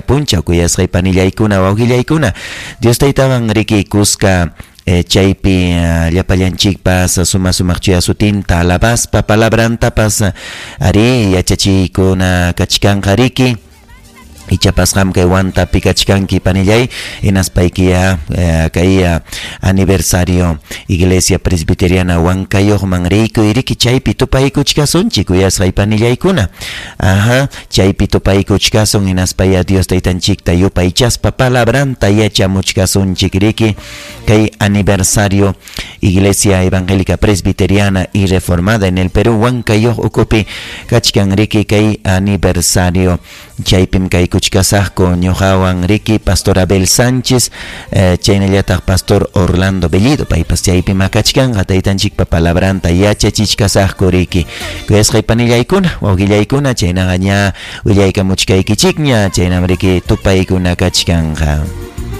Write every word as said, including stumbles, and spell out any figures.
punchaw kuyasqay panillaykuna wawqillaykuna Dios Taytawan riki kuska eh, chaypi uh, llapallanchikpas suma sumaq chuya sutinta alabaspa palabrantapas ari yachachiykuna kachkanqa riki. Ichapas qam kay Huantapi kachkanki panillay hinaspaykiya eh, kay uh, aniversario Iglesia Presbiteriana Huancayuqman riykuy riki chaypi tupaykuchkasunchik kuyasqay panillaykuna. Aha, chaypi tupaykuchkasun hinaspaya Dios Taytanchikta yupaychaspa palabranta yachamuchkasunchik riki kay aniversario Iglesia Evangélica Presbiteriana y Reformada en el Perú Huancayuq ukupi kachkan riki kay aniversario chaypim kaykuchkasaqku ñuqawan riki Pastor Abel Sánchez eh, chaynallataq Pastor Orlando Bellido paypas chaypim kachkanqa taytanchikpa palabranta yachachichkasaqku riki kuyasqay panillaykuna wawqillaykuna chaynaqa ña willaykamuchkaykichikña chaynam riki tupaykuna kachkanqa.